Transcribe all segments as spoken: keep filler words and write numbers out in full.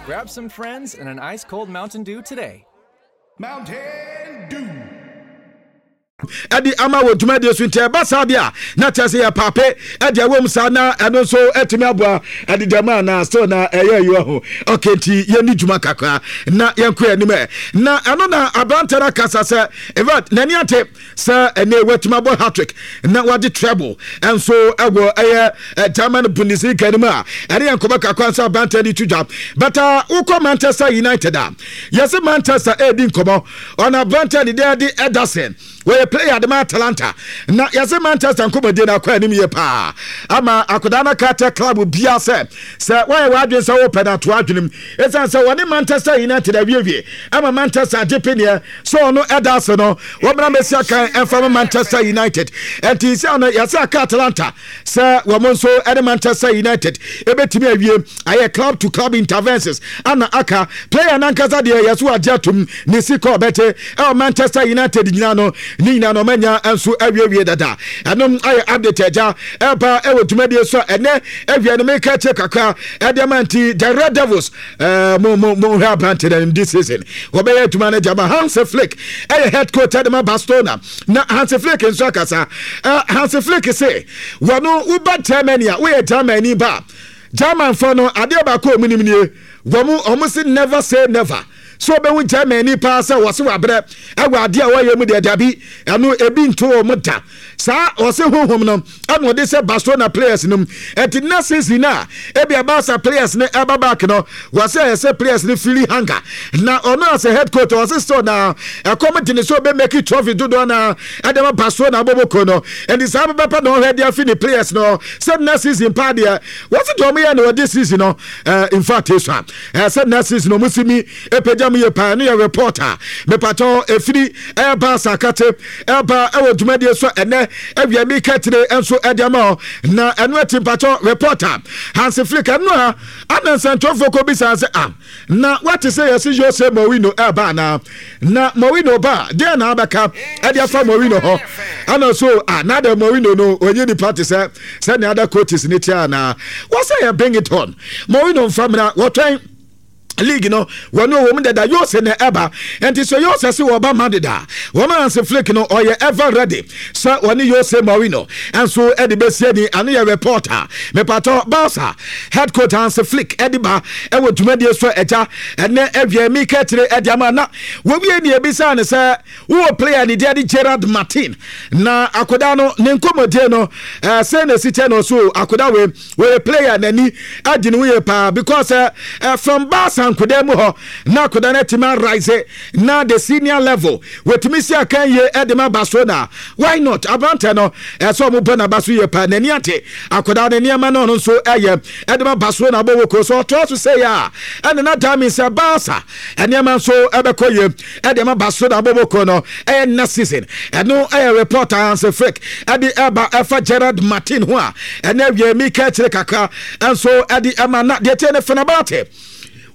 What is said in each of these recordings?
Grab some friends and an ice cold Mountain Dew today. Mountain Dew. Ɛde ama wɔ dwumadie so, nti ɛba saa deɛ a, na kyerɛ sɛ yɛ paape ɛde ɛwɔ mu saa na ɛno nso ɛtumi aboa ɛde dɛm a na still na ɛyɛ ɛyɛ ho. Okay, nti yɛni dwuma kakra na yɛnkɔ anim ɛ. Na ɛno na aberantɛ no akasa sɛ in fact n'ani ate sɛ ɛnɛ watumi abɔ hat-trick na wagye treble ɛnso ɛwɔ ɛyɛ German Bundesliga no mu a, ɛne yɛn nkɔmɔ kakra nso aberantɛ de to dwa. But wokɔ Manchester United a, yɛsɛ Manchester ɛredi nkɔmɔ ɔna aberantɛ de deɛ de Ederson, wɔyɛ player de ma Atalanta, na yɛsɛ Manchester nkɔmɔdie no akɔ anim yie paa ama akwadaa no ka kyɛ club bia sɛ sɛ wɔyɛ w'adwene sɛ wopɛ no ato adwenem, ɛsiane sɛ wɔne Manchester United awiewie ama Manchester agye peneɛ sɛ ɔno ɛda ase no wɔmmra mɛsi akan ɛmfa ma Manchester United. Ɛnti sɛ no yɛsɛ aka Atalanta sɛ wɔn nso ɛne Manchester United ɛbɛtumi awie ayɛ club to club interventions ana aka player nankasa deɛ yɛso wagye atom ne sika ɔbɛte ɛwɔ Manchester United nyinaa no ne nyinaa no ɔmanya nso awiewie dada. Ɛnom ayɛ update agya ɛba ɛwɔ dwumadie so a ɛnɛ awia no meka kyerɛ kakra ɛde ama. Nti the Red Devils, ɛɛ mo mo mo hwɛ aberante na this season wɔbɛyɛ adwuma no gyama. Hansi Flick ɛyɛ head coach ɛde ma Barcelona, na Hansi Flick nso akasa. ɛɛ Hansi Flick se wɔno woba Germany a, woyɛ Germany ba, Germanfoɔ no adeɛ baako a ɔmu nim nie, wɔn wɔn si never say never. So ɔbɛhu Germany paa sɛ wɔse wabrɛ ɛwɔ adeɛ a wɔyɛ mu deɛ, dabi, ɛno ebi nto wɔn da saa. Ɔse honhom no ɛna ɔde sɛ Barcelona players no, ɛnti next season a ebi Barca players no ɛba back no, wɔsɛ ɛyɛ sɛ players no feeling hunger, na ɔno as a head coach ɔse still na ɛkɔm de ne so ɔbɛ make trophy dodoɔ na ɛde ma Barcelona abɔbɔko no. Ɛnti saa bɛbɛpɛ na ɔhwɛ de afi ne players no sɛ next season paa deɛ, wɔse deɛ ɔmo yɛ no wɔde season no, ɛɛ in fact esu a ɛɛ sɛ next season ɔmo si mi epagya mu yɛ paa. No yɛ reporter mepatɔ efiri ɛyɛ Barca akate ɛba ɛwɔ dwumadie so ɛnɛ awia mi kɛtire nso ɛde ama hɔ. Na ɛno akyi, mpatɔ reporter Hansi Flick ɛno a ana nsɛntwerɛfoɔ kɔ bisa sɛ, ah, na wate sɛ yɛsi Jose Mourinho ɛba anaa? Na Mourinho ba deɛ na abɛka ɛde afa Mourinho hɔ ana so ah, na de Mourinho no onye nipa te sɛ sɛnea other coaches ne tia anaa? Wɔsɛ yɛ bring it on, Mourinho nfa mmerɛ wɔtwɛn league no wɔne ɔwɔ mu dada. Jose na ɛba, nti sɛ Jose sɛ wɔba Madrid a, wɔn Hansi Flick no ɔyɛ ever ready sɛ wɔne Jose Mourinho nso ɛde bɛsie ni. Ano yɛ reporter mepatɔ Barca head coach Hansi Flick ɛde ba ɛwɔ dwumadie so ɛgya ɛnɛ awia mi kɛkyerɛ ɛde ama. Na wɔwie ni ebisa ne sɛ wowɔ player ne deɛ de Gerard Martin, na akoda no ne nkɔmmɔdie no ɛɛ sɛ na esi kyɛ no so akoda wei wɔyɛ player n'ani agye ne ho yie paa because ɛɛ uh, from Barca nkoda mu hɔ na akoda no atumi arise na the senior level wɔtumi si akan yie ɛde ma Barcelona. Why not? Aberantɛ no ɛsɛ ɔmo bɔ n'aba so yie paa, n'ani ate akoda no nneɛma no ɔno nso ɛyɛ ɛde ma Barcelona bɔ wɔ kuro so. Ɔtoa so sɛ yɛ a ɛne na dami sɛ Barca nneɛma nso ɛbɛkɔ yie ɛde ma Barcelona bɔ wɔ kuro no ɛyɛ next season. Ɛno ɛyɛ report Hansi Flick ɛde ɛba ɛfa Gerard Martin ho a ɛnɛ awie mi ka akyire kakra ɛnso ɛde ɛma. Na deɛ tie ne Fenerbahce,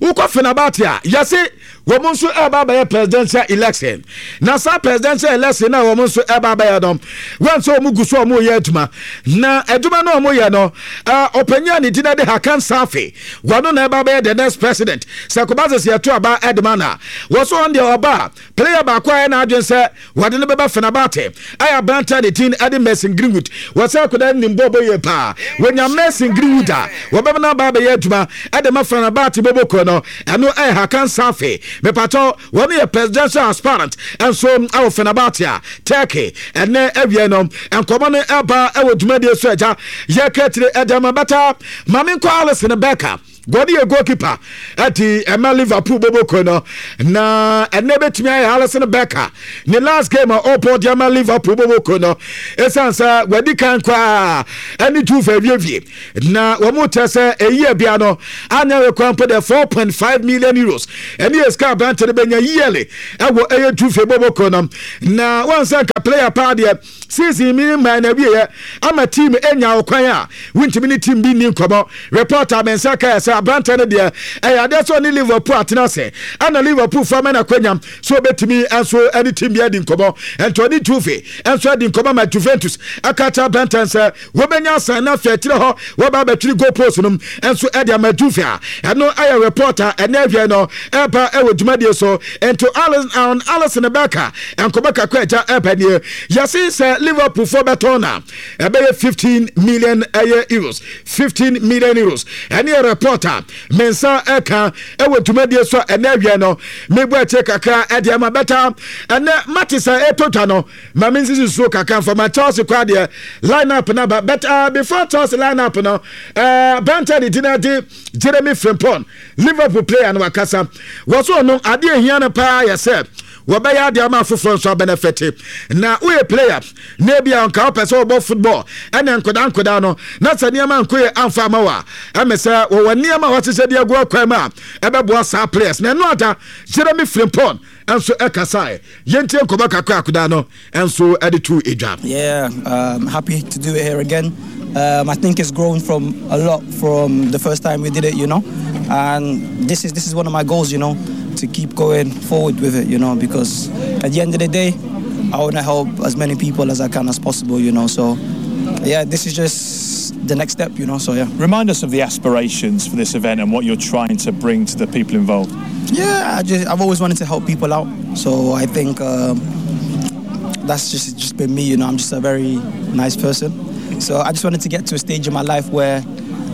wokɔ Fenerbahce a, yɛse wɔn nso ɛba abɛyɛ presidential election, na saa presidential election na wɔn nso ɛba abɛyɛ no, wɔn nso wɔn gu so wɔn yɛ adwuma, na adwuma no wɔn yɛ no, ɛɛ ɔpanyin a ne din de Hakan Safi, wɔn na ɛba abɛyɛ the next president sɛ kɔba sɛ sɛ yɛto aba ɛde ma na wɔn so wɔn deɛ ɔba. Player baako a ɛna adwene sɛ wɔde no bɛba Fenerbahce ɛyɛ aberante ne din ɛde Mason Greenwood. Wɔsɛ akwadaa nim bɔɔl bɔ yie paa. Wɔnya Mason Greenwood a, wɔbɛma no aba abɛyɛ adwuma ɛde ma Fenerbahce bɔbɔkuo no. Ɛno ɛyɛ Hakan Safi mepatɔ, wɔn yɛ presidential aspirant ɛnso ɛwɔ Fenerbahce a Turkey. Ɛnɛ awie no nkɔmɔ no ɛba ɛwɔ dwumadie so agya yɛka tire ɛde ama bɛta. Maame nkɔ Alisson Becker, gɔde yɛ goalkeeper ɛti ɛma Liverpool boboko no, na ɛnɛ bɛtumi ayɛ Alisson Becker ne last game a ɔbɔ de ama Liverpool boboko no, ɛsiane sɛ wadi kan koraa ɛne Juve awiewie na wɔn kyɛ sɛ ɛyi abia no anya rekwan mpo de four point five million euros ɛne yɛ sika. Sika aberante no bɛnya yearly ɛwɔ ɛyɛ Juve bɔbɔkɔ no na wɔnsa nka player paa deɛ, season mi mmaa na awieɛ ama team enya ɔkwan a wontumi ne team bi ni nkɔmɔ. Reporter me nsa kae sɛ aberante no deɛ, ɛyɛ adeɛ sɛ ɔne Liverpool atena ase, ɛna Liverpool fa ma no akwanya so obɛtumi nso ɛne team bi adi nkɔmɔ. Ɛnti ɔne Juve nso adi nkɔmɔ ma Juventus aka kyerɛ aberante sɛ wɔbɛnya asan na afei akyerɛ hɔ wɔba abɛtwiri goal post no nso ɛde ama Juve a ɛno ɛyɛ reporter ɛnɛ awie no ɛba ɛwɔ dwumadie so. Nti Alisson Becker nkɔmɔ kakra agya ɛba nie. Yɛse sɛ Liverpool fo bɛtɔn na ɛbɛyɛ fifteen million ɛyɛ euros, fifteen million euros. Ɛne yɛ reporter mensa ɛka ɛwɔ dwumadie so a ɛnɛ awie no mebɔ akyire kakra ɛde ama bɛta. Ɛnɛ mate sɛ ɛtɔ dwa no ma me nsisi so kakra mfama Chelsea kora deɛ line up na ba, but uh, before Chelsea line up no, uh, Banta de dina de Jeremy Frimpong, Liverpool player no, wakasa wɔ so. Ɔno adeɛ ehia no paa yɛ sɛ wɔbɛyɛ adeɛ ama afoforɔ nso abɛnɛfɛte. Na woyɛ player na ebi a nka wopɛ sɛ wɔbɔ football ɛna nkodaa nkodaa no na sɛ nneɛma nko yɛ amfa ama wo a, ɛmɛ sɛ wɔwɔ nneɛma a wɔahyehyɛ de agu akwan mu a ɛbɛboa saa players. Na ɛno ada Jeremy Frimpong nso ɛkasae. Yɛntie nkɔmɔ kakra akodaa no nso ɛde to edwa. Yeah, um, happy to do it here again. Um, I think it's grown from a lot from the first time we did it, you know. And this is this is one of my goals, you know, to keep going forward with it, you know, because at the end of the day, I want to help as many people as I can as possible, you know. So, yeah, this is just the next step, you know. So yeah. Remind us of the aspirations for this event and what you're trying to bring to the people involved. Yeah, I just I've always wanted to help people out, so I think um, that's just just been me, you know. I'm just a very nice person, so I just wanted to get to a stage in my life where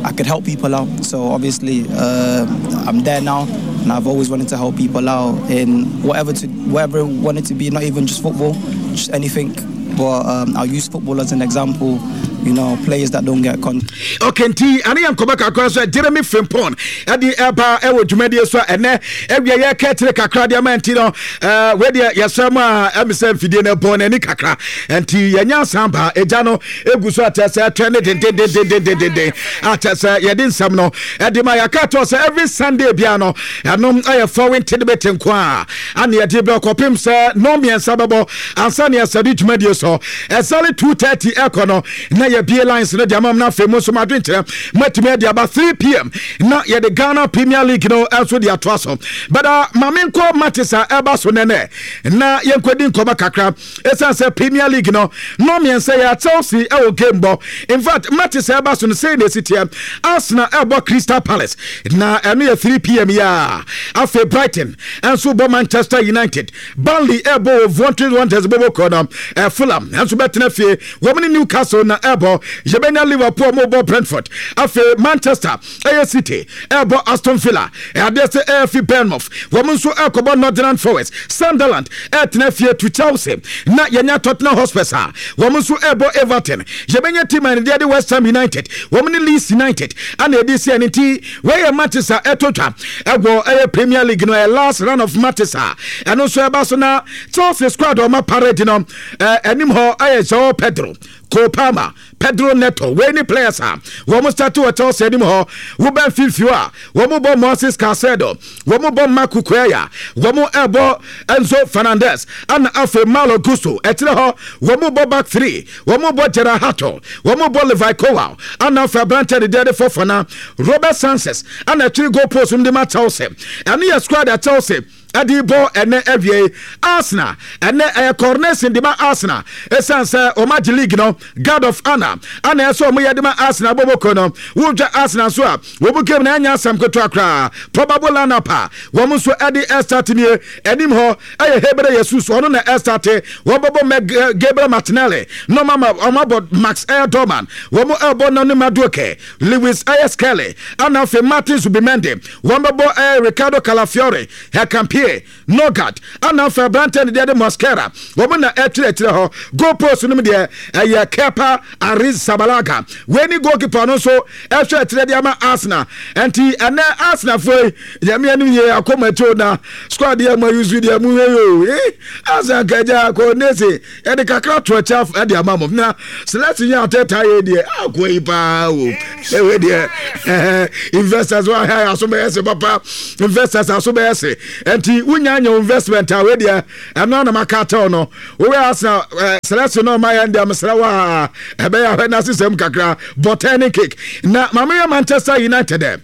I could help people out. So obviously, uh, I'm there now, and I've always wanted to help people out in whatever to whatever it wanted to be, not even just football, just anything. But um, I'll use football as an example. You know, players that don't get con. Okay, nti ane yɛ nkɔmɔ kakra so Jeremy Frimpong ɛde ɛba ɛwɔ dwumadie so a ɛnɛ awia yɛ kɛtire kakra deɛ ma. Nti no ɛɛ wedeɛ yɛsrɛ mu a ɛmi sɛ mfidie no ɛbɔ n'ani kakra, nti yɛnya asan ba egya no egu so atɛ sɛ ɛtwɛn ne dendendendendenden atɛ sɛ yɛde nsɛm no ɛde ma. Yɛaka atɔ sɛ every Sunday bia no, ɛnom ɛyɛ foreign tidbit nko a ane yɛde bɛ kɔpem sɛ nɔɔ mmiɛnsa bɛbɔ ansa ne yɛsɛde dwumadie so. Ɛsale two thirty ɛkɔ no na yɛbie lines no de ama m no. Afei mu nso madwenkyerɛ moatumi ade aba. three p m na yɛde Ghana Premier League no nso de atoa so. But uh, ma menkɔ matches a ɛba so nɛnɛ na yɛnkɔdi nkɔmmɔ kakra, ɛsiane sɛ Premier League no no mmiɛnsa yɛ Chelsea ɛwɔ game bɔ. In fact, matches a ɛba so no sei na ɛsi teɛ: Arsenal ɛbɔ Crystal Palace na ɛno yɛ three p m yi a. Afei Brighton ɛnso bɔ Manchester United. Burnley ɛbɔ wɔ Wolverhampton Wanderers bɔbɔ kɔ no. Ɛ Fulham ɛnso bɛtena fie, wɔn ne Newcastle na ɛbɔ. Yɛbɛnya Liverpool mo bɔ Brentford. Afei Manchester ɛyɛ City ɛbɔ Aston Villa. Ɛadeɛ sɛ ɛyɛ Bournemouth, wɔn nso ɛkɔbɔ Nottingham Forest. Sunderland ɛtena fie to Chelsea na yɛnya Tottenham Hotspurs a wɔn nso ɛbɔ Everton. Yɛbɛnya team a ne deɛ de West Ham United, wɔn ne Leeds United ana ɛdi si. Ɛne nti wɔyɛ matches a ɛtɔ twa ɛwɔ ɛyɛ Premier League no, ɛyɛ last round of matches a ɛno nso ɛba so. Na Chelsea squad ɔma parade no, ɛɛ anim hɔ ɛyɛ Joao Pedro, Cole Palmer, Pedro Neto. Wei ne players a wɔn start wɔ Chelsea anim hɔ. Wobɛn fifio a wɔn bɔ Moises Caicedo, wɔn bɔ Marc Cucurella, wɔn ɛbɔ Enzo Fernandez, ɛna afei Malo Gusto. Ɛkyerɛ hɔ wɔn bɔ back three, wɔn bɔ Jorrel Hato, wɔn bɔ Levi Colwill, ɛna afei aberante de deɛ de Fofana, Robert Sanchez ɛna akyiri goal post mu de ma Chelsea. Ɛno yɛ squad a Chelsea ɛde bɔ ɛnɛ awie. Arsenal ɛnɛ ɛyɛ coronation de ma Arsenal, ɛsiane sɛ wɔn agye league no. Guard of honour ana ɛsɛ wɔn yɛ de ma Arsenal bɔbɔkɔ no. Wodwa Arsenal nso a wɔn game na ɛnyɛ asɛm ketewa koraa. Probable lineup a wɔn nso ɛde ɛstart nie: anim hɔ ɛyɛ Gabriel Jesus, ɔno na ɛstart. Wɔn bɛbɔ mɛ Gabriel Martinelli na wɔn ama wɔn abɔ Max ɛyɛ Dowman, wɔn ɛbɔ Noni Madueke, Lewis ɛyɛ Skelly, ana afei Martin Zubimendi. Wɔn bɛbɔ ɛyɛ Ricardo Calafiori, Hincapie, Norgard, ana afei aberante ne deɛ de Mosquera. Wɔn na ɛtwerɛtwerɛ hɔ. Goal post no mu deɛ ɛyɛ Kepa Arrizabalaga. Wei ni goalkeeper no nso ɛhwɛ ɛkyerɛ de ama Arsenal. Nti ɛnɛ Arsenal foɔ yi, yɛmi anim yɛ akɔma akyi na squad yɛ mo ayusu deɛ mo hwɛ yi o. Eh, Arsenal kagya kɔ nese yɛde kakra to akyi ɛde ama mo na selection yɛ atɛta yɛ deɛ akɔ yi paa o. Ewe deɛ investors wa ha aso bɛyɛ se papa, investors aso bɛyɛ se. Nti Nti wonya nya investment a, wei deɛ ɛno anam aka atɛw no. Wowɛ Arsenal ɛɛ selection na ɔma yɛn deɛ, mesrɛ wo a, ɛbɛyɛ ahwɛ na asesɛm kakra bɔtɛn ne cake. Na maame yɛ Manchester United ɛ,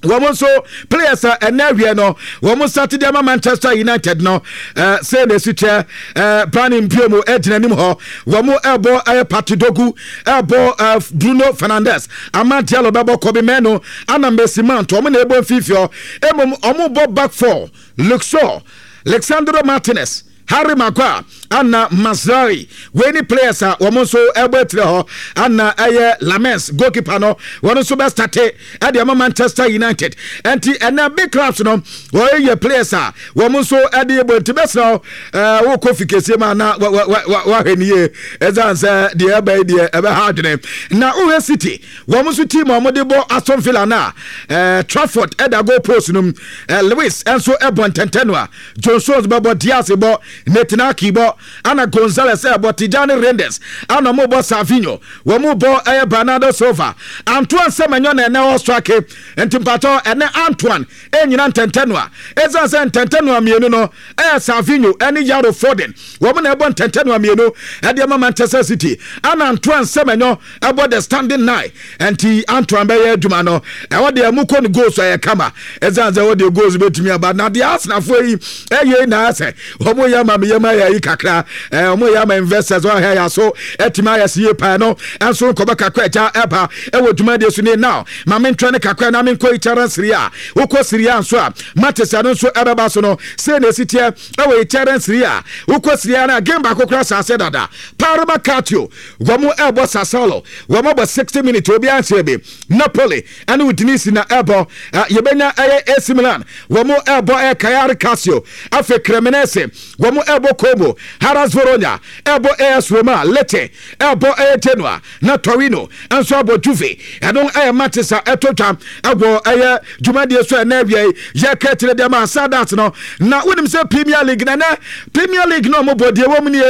wɔn nso players a ɛnɛ awie no wɔn start de ama Manchester United no ɛɛ sɛ na esi kyɛ ɛɛ Bryan Mbeumo ɛgyina anim hɔ. Wɔn ɛbɔ ɛyɛ Patrick Dorgu, ɛbɔ ɛɛ Bruno Fernandes, Amad Diallo bɛbɔ, Kobbie Mainoo ana Mason Mount. Wɔn na ɛbɔ mfimfini hɔ. Emom wɔn bɔ back four: Luke Shaw, Lisandro Martinez, Harry Maguire ana Mazraoui. Wei ni players a wɔn nso ɛbɔ etire hɔ. Ana ɛyɛ Lammens, goalkeeper no, wɔn nso bɛ start ɛde ama Manchester United. Ɛnti ɛnɛ big clubs no wɔyɛ players a wɔn nso ɛde bɔ. Nti bɛsrɛ ɛɛ wokɔ fi kɛseɛ mu ana wahwɛ ne yie, ɛsan sɛ deɛ ɛbɛ yi deɛ ɛbɛha adwene. Na wohwɛ City, wɔn nso team a wɔde bɔ Aston Villa na ɛɛ Trafford ɛda goal post no mu. ɛɛ Lewis ɛnso ɛbɔ ntɛntɛn no a John Stones bɛbɔ, Dias bɔ, Nathan Ake bɔ, ana Gonzales ɛbɔ, Tijjani Reijnders ana mo bɔ, Savinho wɔn mo bɔ, ɛyɛ Bernardo Silva, Antoine Semenyo na ɛnɛ ɔstrike. Nti mpatɔ ɛnɛ Antoine ɛnyina ntɛntɛn no a, ɛsiane sɛ ntɛntɛn no a mmienu no ɛyɛ Savinho ɛne Yaro Foden, wɔn na ɛbɔ ntɛntɛn no a mmienu ɛde ama Manchester City. Ana Antoine Semenyo ɛbɔ the standing nine. Nti Antoine bɛyɛ adwuma no. Ɛwɔ deɛ mu kɔ no goals ɛyɛ kama, ɛsiane sɛ wɔde goals bɛtumi aba. Na deɛ Arsenalfoɔ yi ɛyɛ na asɛ wɔn yɛ ama mi yɛ ma yɛ yi kakra ɛɛ wɔn yɛ ama investors wɔn ahɛ yɛ so ɛtumi ayɛ si yie paa no. Ɛnso nkɔbɛ kakra ɛgya ɛba ɛwɔ dwumadie so ne. Now maame ntwɛn ne kakra na me nkɔ Italian Serie A. Wokɔ Serie A nso a, matches ɛno nso ɛbɛba so no sei na esi teɛ ɛwɔ Italian Serie A. Wokɔ Serie A na game baako kora asase dada, Parma Calcio wɔn ɛbɔ Sassuolo, wɔn abɔ sixty minutes, obiara nhyɛ bi. Napoli ɛne Udinese na ɛbɔ. Yɛbɛnya ɛyɛ A C Milan, wɔn ɛbɔ ɛyɛ Cagliari Calcio. Afei Cremonese wɔn ɛbɔ Como, Hellas Verona ɛbɔ A S Roma, Lecce ɛbɔ ɛyɛ Genoa, na Torino nso abɔ Juve. Ɛno ɛyɛ matches a ɛtɔ twa ɛwɔ ɛyɛ dwumadie so ɛnɛ awia yi yɛka kyerɛ deɛ ma Sadat no. Na wonim sɛ Premier League na nɛ Premier League na ɔmo bɔ deɛ wɔ mu nie.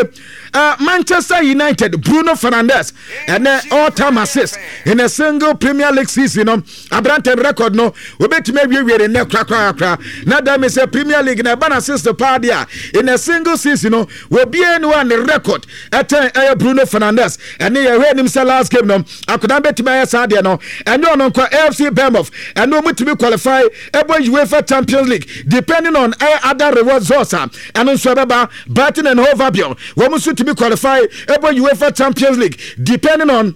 uh, Manchester United Bruno Fernandes ɛnɛ all time assist in a single Premier League season no, aberante record no wobɛtumi awiewie ne nnɛ korakorakora. Na da mi sɛ Premier League na ɛba no assist paa deɛ a, in a single season no, wɔbie ne wa ne record ɛtɛn ɛyɛ Bruno Fernandes. Ɛne yɛhwɛ anim sɛ last game no akodan bɛtumi ayɛ saa deɛ no. Ɛnyɛ ɔno nkɔ, A F C Bournemouth ɛno ɔmutumi qualify ɛbɔ UEFA Champions League depending on ɛyɛ other results a ɛno nso ɛbɛba. Brighton and Hove Albion wɔn nso tumi qualify ɛbɔ UEFA Champions League depending on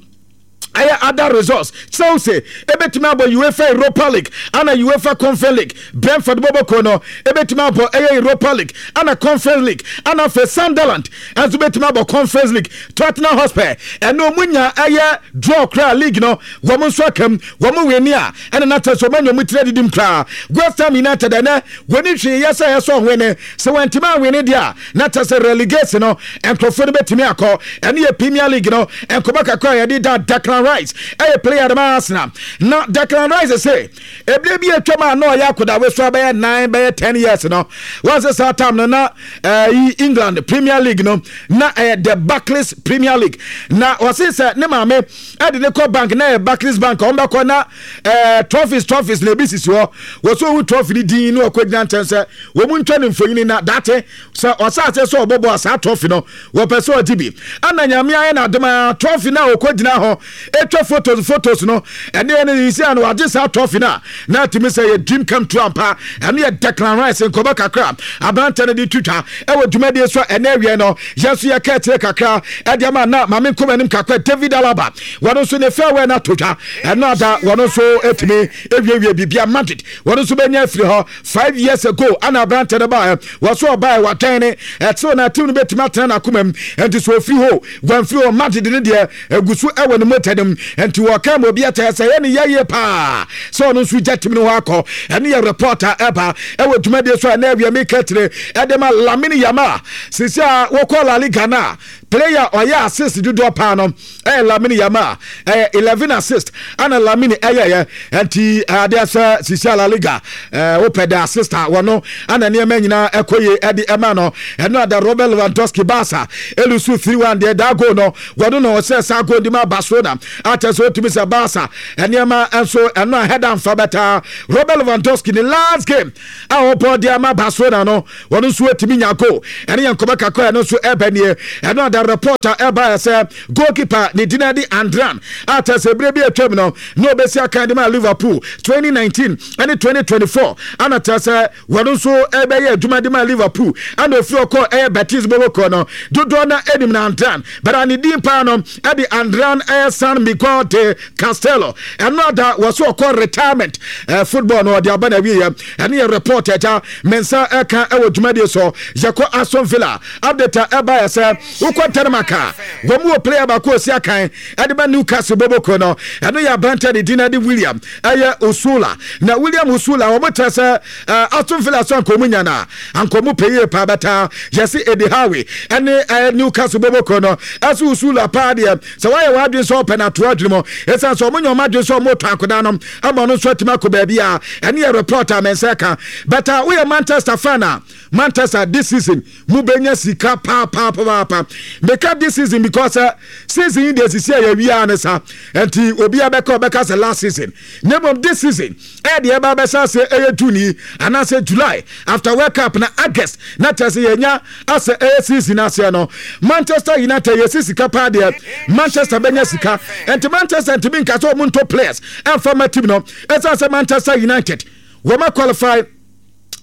ɛyɛ other results. Chelsea ebetumi abɔ UEFA Europa League ana UEFA Conference League. Brentford bɔbɔko no ebetumi abɔ ɛyɛ Europa League ana Conference League, ana afei Sunderland ɛnso betumi abɔ Conference League. Tottenham Hotspur ɛno ɔmo nya ɛyɛ draw koraa, league no wɔn nso akam. Wɔn wini a, ɛna n'atɛ so wɔn anya wɔn tiri adidim koraa. West Ham United ɛnɛ wɔn ni hwee yɛ sɛ ɛsɛ ɔwene sɛ wɔntumi awene deɛ a, na kyɛ sɛ relegation no nkurɔfoɔ no bɛtumi akɔ. Ɛne yɛ Premier League no nkɔmɔ kakra a yɛde da. Declan Rice ɛyɛ player de ma Arsenal, na Declan Rice sɛ ebile bi atwam a na ɔyɛ akodawe so abɛyɛ nine bɛyɛ ten years no, wɔn sɛ saa time no na ɛyi England Premier League no na ɛyɛ the Barclays Premier League. Na wɔsi sɛ ne maame ɛde ne kɔ bank na ɛyɛ Barclays Bank, wɔn bɛkɔ na ɛɛ trophies trophies na ebi sisi hɔ. Wɔso owu trophy ni din na ɔkɔ gyina nkyɛn sɛ wɔn mu ntwa ne mfonyin na date sɛ ɔsa ase sɛ ɔbɔbɔ a saa trophy no wɔpɛ sɛ ɔgye bi. Ɛna Nyame ayɛ n'adom a, trophy na ɔkɔ gyina hɔ etwa photos photos no, ɛne ɛne yisi a na wagye saa trophy no a, na atumi sɛ yɛ dream come true ampa. Ɛno yɛ Declan Rice nkɔmɔ kakra aberante no de twitwa ɛwɔ dwumadie so a ɛnɛ awie no yɛn nso yɛka akyire kakra ɛde ama. Na maame nkɔmɔ anim kakra, David Alaba wɔn nso ne farewell no ato dwa. Ɛno ada wɔn nso atumi awiewie biribia. Madrid wɔn nso bɛnya afiri hɔ. Five years ago ana aberante no baɛ, wɔso ɔbaɛ watwɛn ne ɛtew na team no bɛtumi atena n'akoma mu. Ɛnti sɛ ɔfiri hɔ wɔamfiri hɔ, Madrid no deɛ agu so ɛwɔ ne mogya no mu. Ɛnti wɔka ma obi akyɛ sɛ ɛyɛ ne yɛyie paa sɛ ɔno nso gya team no hɔ akɔ. Ɛne yɛ reporter ɛba ɛwɔ dwumadie so a ɛnɛ awia meka kyerɛ ɛde ma Lamine Yamal sisi a wɔkɔ La Liga no a Player ɔyɛ assist dodoɔ paa no ɛyɛ Lamine Yamal, ɛyɛ eleven assist ana Lamine ɛyɛyɛ. Nti adeɛ sɛ sisi a La Liga ɛɛ wopɛ de assist a, wɔno ana nneɛma nyinaa ɛkɔ yie ɛde ɛma no. Ɛno ada Robert Lewandowski, Barca e lose three one deɛ, daa goal no wɔno na ɔsɛ saa goal di ma Barcelona akyɛ sɛ otumi sɛ Barca nneɛma nso ɛno a header nfa bɛtaa. Robert Lewandowski ne last game a ɔbɔ de ama Barcelona no, wɔn nso atumi nya goal. Ɛne yɛn nkɔmɔ kakra ɛno nso ɛbɛ nie. Ɛno ada reporter ɛba yɛ sɛ goalkeeper ne din de Adrian a kyerɛ sɛ ebire bi atwam no na obesi akan de ma Liverpool twenty nineteen ɛne twenty twenty-four, ana kyerɛ sɛ wɔn nso ɛbɛyɛ adwuma de ma Liverpool, ana ofiri ɔkɔ ɛyɛ Betis bɔbɔkɔ no dodoɔ na anim na Adrian bɛrɛ ne din paa no ɛde Adrian ɛyɛ San Miguel de Castello. Ɛno ada wɔso ɔkɔ retirement ɛɛ football no ɔde aba na wieɛ. Ɛne yɛ report ɛgya mensa ɛka ɛwɔ dwumadie so. Yɛkɔ Aston Villa update a ɛba yɛ sɛ wokɔ Denmark a, wɔn mu wɔ player baako osi akan ɛde ba Newcastle bɔbɔkɔ no. Ɛno yɛ aberante de din ɛde William ɛyɛ Osula. Na William Osula, wɔn kyerɛ sɛ ɛɛ Aston Villa so ankɔmu nya na ankɔmu pɛ yie paa bɛta yɛsi Eddie Howe ɛne ɛɛ Newcastle bɔbɔkɔ no ɛso Osula paa deɛ, sɛ wɔayɛ wɔn adwene sɛ ɔpɛ na ato adwene mu, ɛsiane sɛ ɔmo nyɛ ɔmo adwene sɛ ɔmo tɔ akoda no ama ɔno nso atumi akɔ baabi a. Ɛne yɛ report a mɛnsa ka bɛta. Woyɛ Manchester fan a, Manchester this season mu bɛnya sika paapaapapa. Meka this season because uh, season yi deɛ sisi a yɛwia ne sa nti obi abɛka ɔbɛka sɛ last season, na mmom this season ɛyɛ deɛ ɛba abɛhyɛ ase ɛyɛ June yi anaasɛ July after World Cup na August na kyerɛ sɛ yɛnya asɛ ɛyɛ season aseɛ no. Manchester United yɛsi sika paa deɛ, Manchester bɛnya sika. Nti Manchester ntumi nka sɛ ɔmo ntɔ players ɛmfa ma team no, ɛsiane sɛ Manchester United wɔma qualify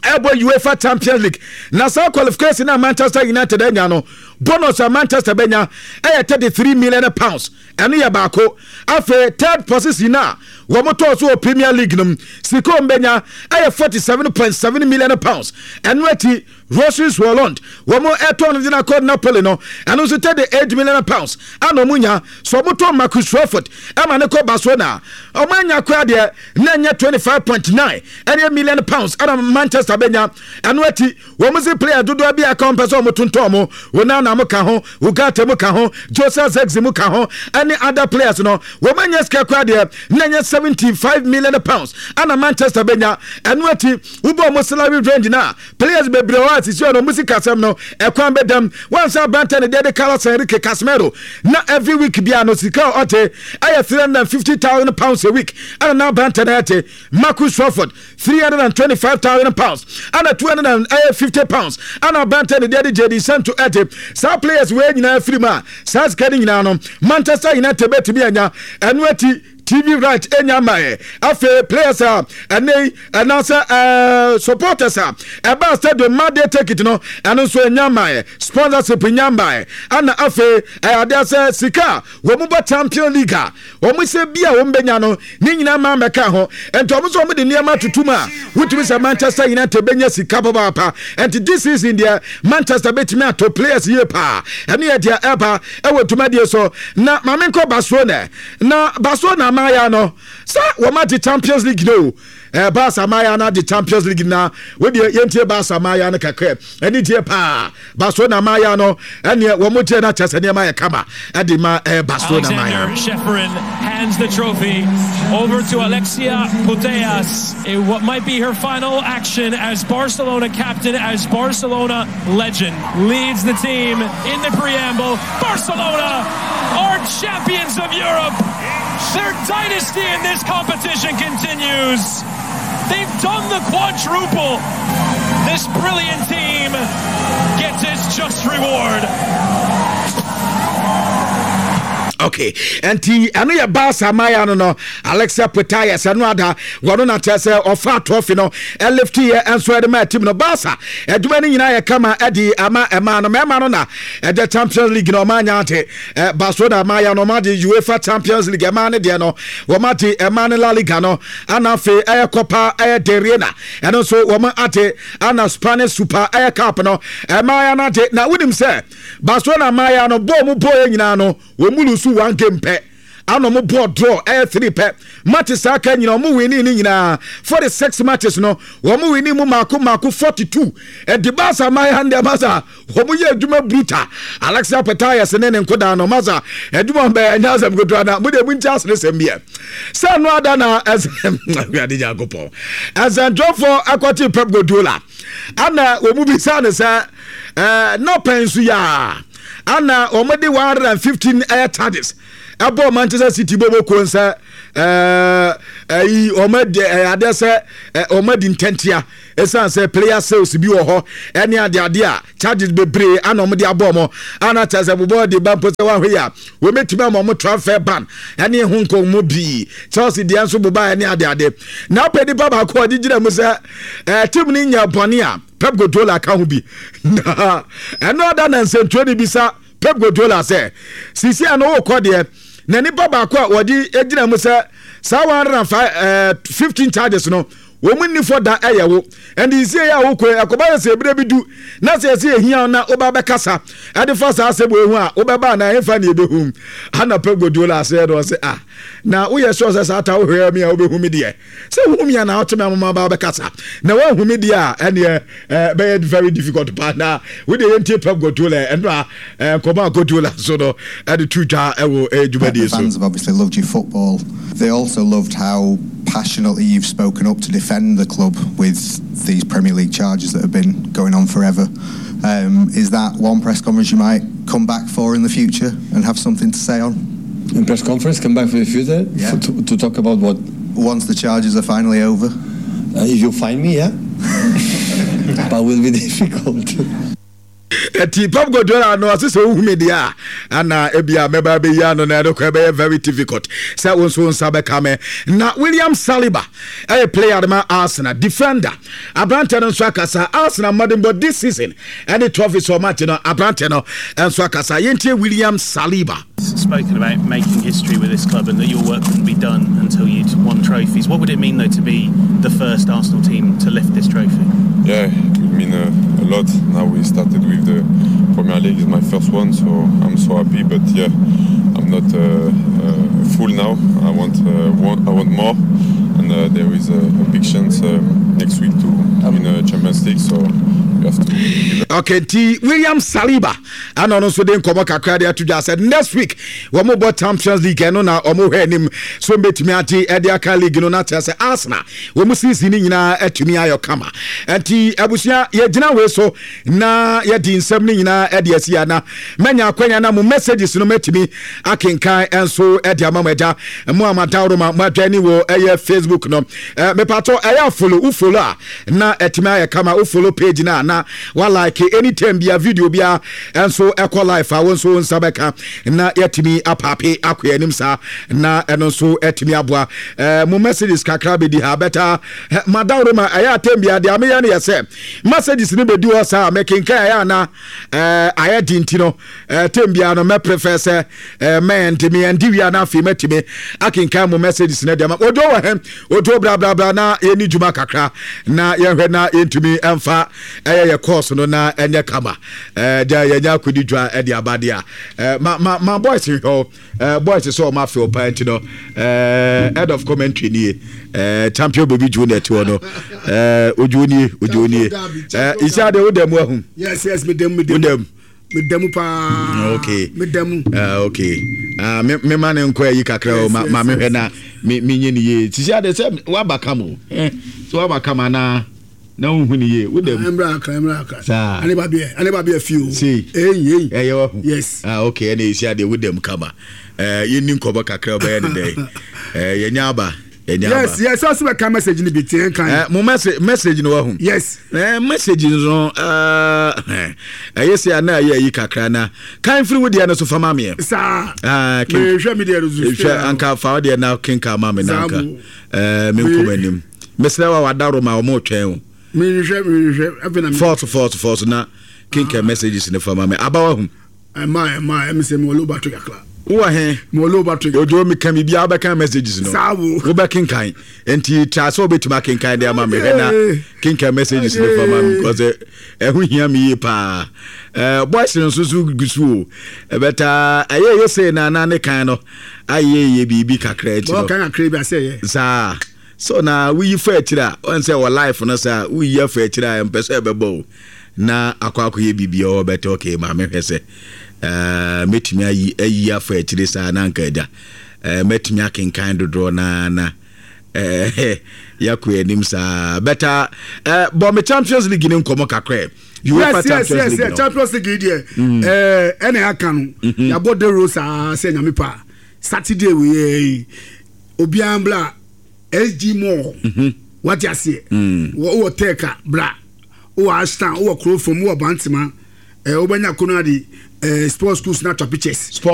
ɛbɔ UEFA Champions League, na saa qualification na Manchester United anya no, bonus a Manchester bɛnya ɛyɛ thirty three million pounds. Ɛno yɛ baako. Afei third position a wɔn tɔɔ so wɔ Premier League no, sika wɔn bɛnya ɛyɛ forty seven point seven million pounds. Ɛno akyi Rasmus Hojlund, wɔn ɛtɔn no gyina kɔ Napoli no, ɛno nso thirty eight million pounds ana wɔn nya. So wɔn tɔn Marcus Rashford ɛma ne kɔ Barcelona, wɔn anya kora deɛ na ɛnyɛ twenty five point nine ɛne million pounds ɛna Manchester bɛnya. Ɛno akyi wɔn si player dodoɔ bi aka wɔn pɛ sɛ wɔn tontɔn mo, Onana mo ka ho, Ugarte mo ka ho, Joseph Zexi mo ka ho ɛne other players no, wɔn anya sika kora deɛ na ɛnyɛ seventy five million pounds ɛna Manchester bɛnya. Ɛno akyi wobɔ wɔn salary range na players bebree wɔ a sisi ɔno wɔn si kasɛm no ɛkwan bɛdam wɔn nsa. Aberante ne deɛ de Carlos Enrique Casemiro na every week bia no sika a ɔte ɛyɛ three hundred and fifty thousand pounds a week, ɛna na aberante no ɛte Marcus Rashford three hundred and twenty-five thousand pounds ɛna two hundred and fifty pounds ɛna aberante ne deɛ de Jadon Sancho ɛte. Saa players wei nyinaa firi mu a, saa sika no nyinaa no Manchester United bɛtumi anya. Ɛno akyi T V right enya ma yɛ. Afei players a ɛnɛ yi ɛnaasɛ ɛɛ supporters a ɛbaa stadium ma de ticket no, ɛno nso enya ma yɛ. Sponsorship nya ma yɛ. Ɛna afei ɛyɛ adeɛ sɛ sika a wɔn mu bɔ Champion League a wɔn sɛ bi a wɔn bɛnya no ne nyinaa maa mɛka ho. Nti wɔn nso wɔn de nneɛma tutu mu a wotumi sɛ Manchester United bɛnya sika papaapa. Nti this season deɛ, Manchester bɛtumi ato players yie paa. Ɛno yɛ deɛ ɛba ɛwɔ dwumadie so. Na maame nkɔ Barcelona, na Barcelona amaaya no sɛ wɔn agye Champions League no. Ɛɛ Barca amaaya no agye Champions League na wodeɛ yɛntie Barca amaaya no kakra. Ɛne tie paa Barcelona amaaya no, ɛneɛ wɔn gye no akyɛ sɛ nneɛma yɛ kama ɛde ma ɛɛ Barcelona amaaya no. Ceferin hands the trophy over to Alexia Putellas in what might be her final action as Barcelona captain, as Barcelona legend, leads the team in the preamble. Barcelona are champions of Europe. Their dynasty in this competition continues. They've done the quadruple. This brilliant team gets its just reward. Okay, nti ɛno yɛ Barca maya no no Alexia Putellas, ɛno ada wɔno na kyerɛ sɛ ɔfa trophy no ɛ lift yɛ nso ɛde ma team no. Barca adwuma no nyinaa yɛ kama ɛde ama ɛma no mɛma no na ɛde Champions League no ɔma anya ate. Barcelona maya no ɔma de UEFA Champions League, ɛma ne deɛ no wɔma de ɛma ne La Liga no, ana afei ɛyɛ Copa ɛyɛ de Reina, ɛno nso wɔma ate, ana Spanish Super ɛyɛ Cup no ɛma ya no ate. Na wonim sɛ Barcelona maya no bɔɔl mu bɔɔl yɛ nyinaa no, wɔn mu lose one game pɛ. Ana ɔmo bɔɔ draw ɛyɛ three pɛ. Matches aka nyina, ɔmo winni ne nyinaa. Forty six matches no, wɔn winni mu mako mako forty two. Ɛdi Barca man ha ndeɛ, masa, wɔn yɛ adwuma brutal. Alexia Putellas ne ne nkodaa no, masa, adwuma bɛyɛ ɛnyɛ asɛm ketewa. Na mo de mo nti asene sɛm biɛ sɛ no ada na ɛsɛ Awurade Nyankopɔn ɛsɛntwerɛfoɔ ɛkɔte Pep Guardiola, ana wɔn mu bisa ne sɛ ɛɛ na pɛn so yɛ a ana wɔn de one hundred and fifteen ɛyɛ charges ɛbɔ Manchester City bɔbɔ kuo sɛ ɛɛ ɛyi wɔn adi ɛyɛ adeɛ sɛ ɛ wɔn adi ntɛntia, ɛsiane sɛ player sales bi wɔ hɔ ɛne adeade a charges bebree ana wɔn de abɔ wɔn, ana kyerɛ sɛ bobɔ de ba mpo sɛ wɔahwɛ yi a wɔmɛtumi ama wɔn transfer ban ɛne ho nkɔmmɔ pii. Chelsea deɛ nso boba ɛne adeade na apɛ nipa baako a ɔde gyina mu sɛ ɛɛ team no nya bɔne a Pep Guardiola ka ho bi. Na ɛno ada na nsɛntwerɛ no bisa Pep Guardiola sɛ sisi a no wokɔ deɛ, na nipa baako a wɔde gyina mu sɛ saa one hundred and fifteen charges no wɔn mu nni da ɛyɛ wo, ɛnde nsie yɛ a wokɔ ɛkɔba yɛ sɛ ebire bi du na sɛ yɛsɛ ehia na woba bɛkasa ɛde fa saa asɛm wɔ ehu a wobɛba na ɛnfa ne ebehu. Ana Pep Guardiola asɛ no ɔsɛ, ah, na woyɛ sure sɛ saa ta wohwɛ mi a wobɛhu mi deɛ sɛ wohu mi a na wote me amoma ba bɛkasa na woahu mi deɛ a ɛneɛ bɛyɛ very difficult paa. Na wode yɛntie Pep Guardiola ɛno a nkɔmɔ a Guardiola so no ɛde to dwa ɛwɔ dwumadie so. Fans have obviously loved your football. They also loved how passionately you've spoken up to defend the club with these Premier League charges that have been going on forever. Um, is that one press conference you might come back for in the future and have something to say on? In press conference, come back for the future? Yeah. For, to, to talk about what? Once the charges are finally over. Uh, if you find me, yeah. But will be difficult. Ɛti Pep Guardiola no ɔse sɛ wohu me deɛ a ana ebia mɛba bɛyi ano na ɛno kɔ ɛbɛyɛ very difficult sɛ wo nso wo nsa bɛka me. Na William Saliba ɛyɛ player de ma Arsenal, defender. Aberantɛ no nso akasa Arsenal mmɔdenbɔ this season ɛne trophies ɔmate no. Aberantɛ no nso akasa. Yɛntie William Saliba. Spoken about making history with this club and that your work wouldn't be done until you'd won trophies. What would it mean, though, to be the first Arsenal team to lift this trophy? Yeah, it would mean a, a lot. Now we started with the Premier League, it's my first one, so I'm so happy. But yeah, I'm not uh, uh, full now. I want, uh, want I want more, and uh, there is a, a big chance um, next week to, to win a Champions League. So you have to. Okay, nti William Saliba ana ɔno nso de nkɔmmɔ kakra de ato dwa sɛ next week wɔn bɔ Champions League, ɛno na wɔn hwɛ anim so mbɛtumi ate ɛde aka league no na kyerɛ sɛ Arsenal wɔn season ne nyinaa atumi ayɔ kama. Nti abusua, yɛgyina wei so na yɛdi nsɛm no nyinaa ɛde asi ana mɛnya akwanya na mo messages no mɛtumi akenkan nso ɛde ama mo. Agya mo amadawroma mo adwani wɔ ɛyɛ Facebook no, ɛɛ mepatɔ ɛyɛ follow wo follow a na ɛtumi ayɛ kama. Wo follow page na na wa like anytime bia video bia ɛnso ɛkɔ live a wo nso wo nsa bɛka na yɛtumi apaape akɔ anim saa na ɛno nso ɛtumi aboa. ɛɛ mo messages kakra bɛdi ha bɛta madawroma. Ɛyɛ atɛm bia deɛ ameyɛ no yɛ sɛ messages no bɛdi hɔ saa mɛkenkan ɛyɛ ana ɛɛ ayɛ di nti no ɛɛ tɛm bia no mɛ prefer sɛ ɛɛ mɛɛnti mɛɛnti wia na afei mɛtumi akenkan mo messages no deɛ ma odo wɔ hɛn odo brabrabra na yɛni dwuma kakra na yɛhwɛ na yɛntumi ɛmfa ɛyɛ yɛ course no na ɛnyɛ kama. ɛɛ gya yɛnya akɔdi dwa ɛde aba deɛ a ɛɛ ma ma ma boys hwɛ o. ɛɛ boys sɛ ɔmo afei ɔpaa nti no ɛɛ head of commentary nie, ɛɛ Champion Baby Junior ti hɔ no. ɛɛ ojuo nie, ojuo nie. ɛɛ isi ade o dɛm ahu? yes yes me dɛm, me dɛm. O dɛm? Me dɛm paa. Okay. Me dɛm. uh, okay uh, me me ma ne nkɔ ayi kakra o. Ma ma me hwɛ na me me nye ne yie. Sisi ade sɛ waba kam o, eh sɛ waba kam ana na wohu ne yie, wo dɛm? Ɛmra akra, ɛmra akra. Saa. Ane ba biɛ, ane ba biɛ fi o. Sei. Eyi eyi. Ɛyɛ wahu? Yes. Ah, okay. Ɛna esi adeɛ wo dɛm kama. ɛɛ yɛnni nkɔmɔ kakra, ɔbɛyɛ ne dɛ ɛɛ yɛnya aba, yɛnya aba. yes yes ɔsɛ bɛ ka message ni bi tiɛ kan. ɛɛ mo message message no wahu? Yes. ɛɛ message no, ɛɛ ɛyɛ sɛ ana ɛyɛ ayi kakra na kan firi wo deɛ no so fama meɛ. Saa. Aa ken. Mehwɛ mi deɛ no so. Hwɛ anka fa wo deɛ na kenka ma me na anka Saa mo. ɛɛ me nkɔmɔ anim mesrɛ wa wadaro ma ɔmo twɛn o. Mehwɛ, mehwɛ afei na mi. Force force force na kenka messages ne fama me aba wahu. Ɛma ɛma ɛmi sɛ mi wɔ low battery kakra. Wowɔ he? Mewɔ low battery. Ojo, meka biribiaa, wobɛka messages no. Saa wo. Wobɛkenkan, nti tra sɛ wobɛtumi akenkan de ama me. Hwɛ na kenkan messages no fa ma me, because ɛho hia me yie paa. Eh, boys no nso so gu so o, ɛbɛta ɛyɛ yɛ sei na na ne kan no ayɛ yɛ biribi kakra akyi no. Bɔɔ kakra bi asɛ yɛ. Saa so na woyi fa akyiri a, ɔn sɛ wɔ life no saa, woyi afa akyiri a, ɛmpɛ sɛ ɛbɛbɔ o na akɔ akɔyɛ biribi a ɔbɛtɛ. Okay, maame, hwɛ sɛ ɛɛ mɛtumi ayi ayi afa akyire saa na anka agya ɛɛ mɛtumi akenkan dodoɔ na na ɛɛ yɛakɔ anim saa. Bɛta ɛɛ bɔ me Champions League ne nkɔmɔ kakra. UEFA yes, yes, Champions yes, League yes. No. Champions League yi deɛ, ɛɛ ɛna aka no, yabɔ dero saa sɛ Nyame pa, Saturday wei yi, obiara mbla S G Mall. Wate aseɛ? Wɔ wɔ Tɛɛka bra, wɔ Ashtown, wɔ Kurofom, wɔ Bantama, ɛɛ wobɛnya Konadi ɛɛ sports schools na atwa pictures. Sport